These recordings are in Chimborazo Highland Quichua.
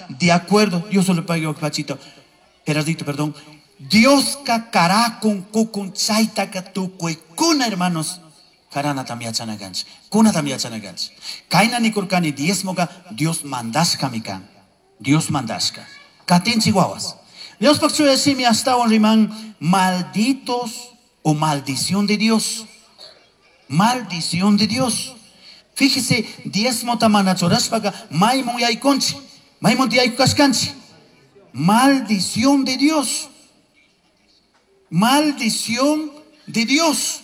Dioska de acuerdo, Dios le pague pachito. Gerardito, perdón. Dioska karakun kukun chaytaka tukuykuna, hermanos. Karanatam yachana kanchik. Kunatam yachana kanchik. Kayna nikurkani diezmoka Dios mandashkami kan. Dios mandashka. Katinchik wawas. Diospaj chuya simi astawan riman malditos o maldición de Dios. Maldición de Dios. Fíjese, diezmota mana churashpaka maymun yaykunchik. Maymun tiyaykushkanchik. Maldición de Dios. Maldición de Dios.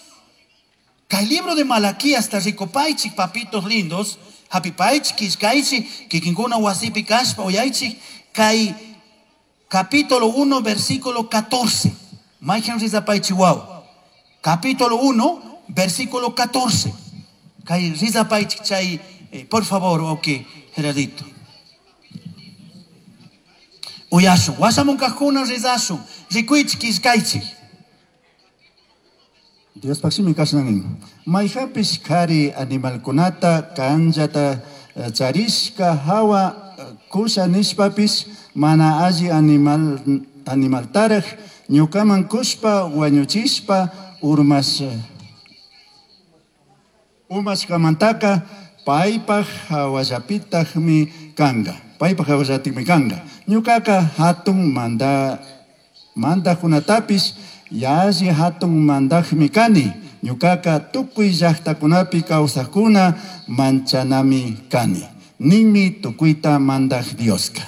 Kay libro de Malaquías ta rikupaychik, papitos lindos, hapipaychik, killkaychik, kikinkuna wasipi kashpa uyaychik, kay capítulo 1, versículo 14. Mayhan rizapaychik wawa. Capítulo 1, versículo 14. Kay rizapaychik chay, por favor, ok, Gerardito. Uyashun, washamun kajkuna rizashun, rikuychik, killkaychik. Diospaj shimi kashna nin. Mayhapish kari animalkunata kanllata charishka hawa kusha nishpapish mana alli animaltaraj ñukaman kushpa wañuchishpa umashkamantaka paypaj hawallapitajmi kanga. Paypaj hawallatikmi kanga. Ñukaka hatun mandajkunatapish yalli hatun mandajmi kani. Ñukaka tukuy llaktakunapi kawsajkuna manchanami kani. Ninmi tukuyta mandaj Dioska.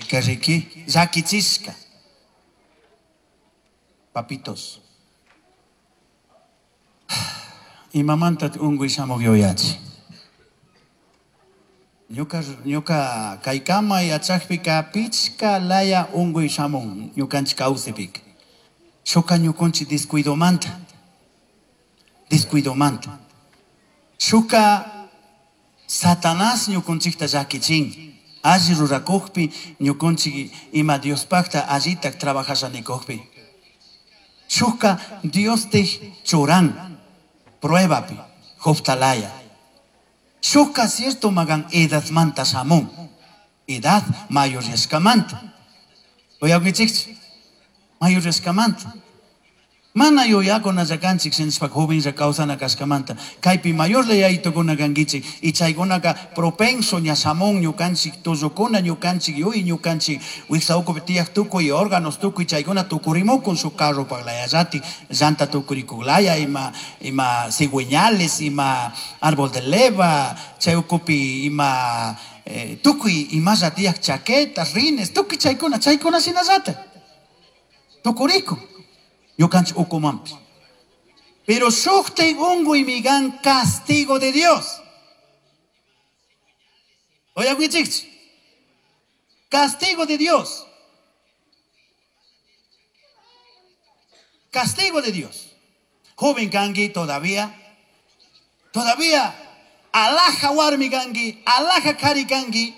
Kariki, llakichishka. Papitos. Imamanta unguy shamuq yuyachi. Ñuka kaykama yachakpika pichka laya unguy shamun ñukanchik kawsaypika. Shuka ñukunchik descuidomanta. Descuidomanta. Shuka Satanás ñukunchikta llakichin. Alli rurakukpi ñukunchik ima Diospakta allitak trabajashanikukpi. Shuka Dios te churan pruebapi, Jobtalaya. Shuka cierto magan edadmanta shamun. Edad mayoryashkamanta. Uyakunchikchi? Mayoryashkamanta. Mana yuyakuna kanchik sinchpa jovenlla kawsana kashkamanta. Kaypi mayorlla yaytukuna kankichik. Y chaykunaka propenso ña shamun ñukanchik tullukuna ñukanchik yuy ñukanchik wiksa ukupi tiyaq tukuy órganos tukuy chaykuna tukurimukun shuk carro paglayallati llanta tukurikuklaya ima cigüeñales ima árbol de leva chay ukupi ima tukuy imalla tiyaq chaquetas rines tukuy chaykuna chaykuna shinallata tukurikun. Ñukanchik ukumanpish. Pero shuktay unguy migan castigo de Dios. Oye, castigo de Dios. Castigo de Dios. Joven kangi todavía. Todavía alaja warmi kangi, alaja kari kangi,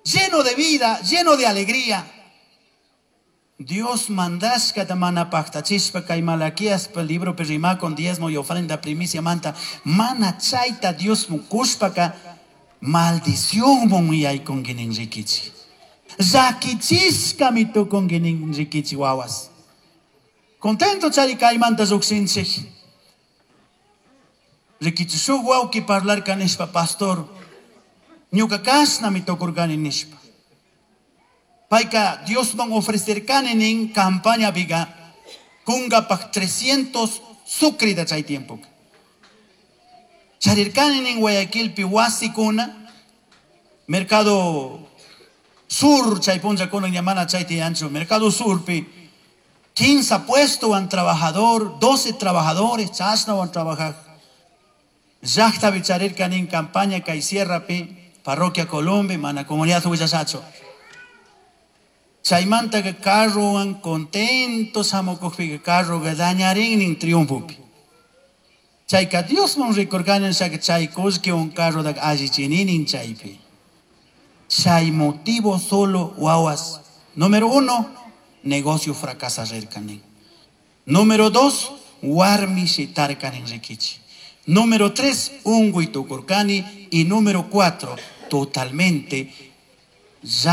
lleno de vida, lleno de alegría. Dios mandashka mana paktachishpa kay Malaquías pa libro perima con diezmo y ofrenda primicia manta mana chayta Dios mukushpaka maldición mun yaykunki rikichi. Llakichishka mitukunki rikichi wawas. Contento chari kaymanta lluqshinchik. Rikichi shuk wawki parlarka nishpa pastor. Ñuka kashna mitukurkani nishpa. Payka Diosman ofrecerkani nin campaña viga kungapaj 300 sucrida chay tiempo. Charirkani nin Guayaquilpi wasikuna Mercado Sur chay punllakuna ñamana chay tiyanchu Mercado Surpi 15 puesto wan trabajador 12 trabajadores chashna wan trabajar. Llaqtapi charirkani nin campaña kay sierrapi parroquia Colombia mana comunidad huillasacho. Chaymanta que carrowan contentos hamukukpi carro dañarin nin triunfopi. Chayka Diosman rikurkani shaka chay kullki un carro da allichininin chaypi. Chay motivo solo wawas. Número 1, negocio fracasa rirkanin. Número 2, warmi shitarkanin rikichi. Número 3, unguy tukurkani. Y número 4, totalmente ya